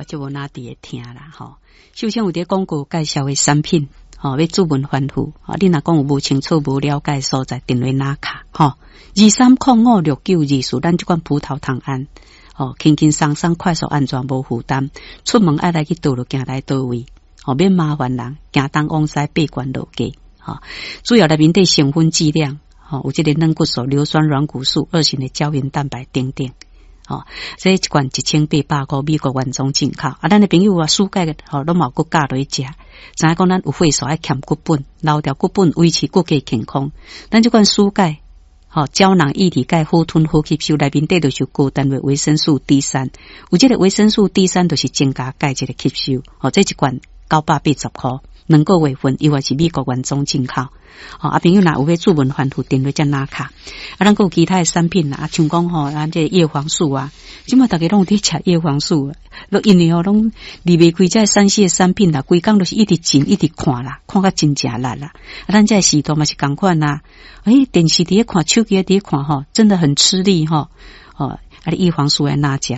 就無哪佇會聽啦，吼。首先有佇廣告介紹的產品，吼，欲主問反覆，吼，你若講有無清楚、無了解所在，電話拿卡，吼，23056924，咱這款葡萄糖胺，吼，輕輕鬆鬆、快速安全、無負擔，出門愛來去佗落，行來佗位，吼，免麻煩人，行東往西爬懸落低，吼，主要內面底成分劑量，吼，有這个軟骨素、硫酸軟骨素、二型的膠原蛋白等等。吼，這一罐1800塊，美國原裝進口。啊，咱的朋友啊，世界吼攏嘛有閣教落去食，知影講咱有歲數愛欠骨本，留掉骨本維持骨骼健康。咱這款舒鈣，吼膠囊液體鈣好吞好吸收，內面底就是高單位維生素 D 三，有這个維生素 D 三就是增加鈣質的吸收。吼，這一罐980塊，兩個月份，伊話是美國原裝進口。吼，啊，朋友若有欲主問反覆電話才拿卡。啊，咱閣有其他的產品啦，啊，像講吼，咱這葉黃素啊，這馬逐家攏有佇食葉黃素，攏因為吼攏離袂開這3C 的產品啦，規工都是一直進一直看啦，看甲真正力啦。啊，咱這個時代嘛是仝款啦，欸，電視佇咧看，手機佇咧看吼，真的很吃力吼。吼，啊，你葉黃素愛哪食？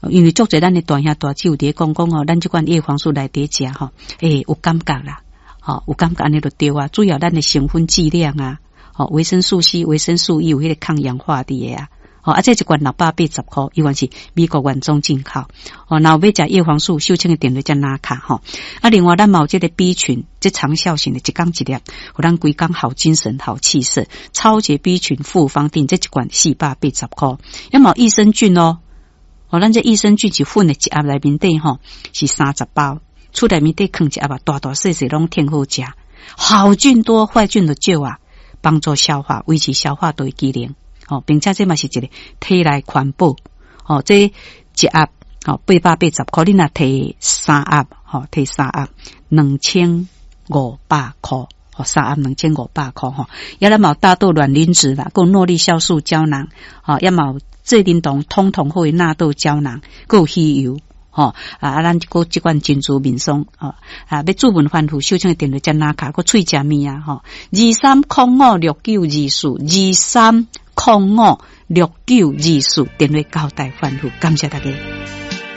因為足濟咱的大兄大姊有佇咧講講吼，咱這款葉黃素來佇食吼，欸，有感覺啦。吼，有感覺按呢就對啊。主要咱的成分劑量啊，吼，維生素 C、維生素 E 有彼個抗氧化佇的啊。吼，啊，這一罐680塊，伊原是美國原裝進口。吼，若有欲食葉黃素，秀清的電話才拿卡吼。啊，另外咱嘛有這個 B 群，這長效型的，一工一粒，予咱規工好精神、好氣色。超級 B 群複方錠，這一罐480塊。猶嘛有益生菌哦，吼，咱這益生菌是粉的一盒內面底吼是30包。厝內面底囥一盒啊，大大細細攏添好食，好菌多，壞菌就少啊，幫助消化，維持消化道的機能。吼，並且這嘛是一個體內環保。吼，這一盒吼880塊，你若提三盒，吼提三盒2500塊，吼三盒2500塊吼。猶咱嘛有大豆卵磷脂啦，閣有諾麗酵素膠囊，吼，猶嘛有濟啉糖通通好的納豆膠囊，閣有魚油。吼啊！咱閣這款珍珠面霜，吼啊！欲主問反覆，秀清的電話才拿卡，閣喙食物啊！吼，23056924，23056924，電話交代反覆，感謝大家。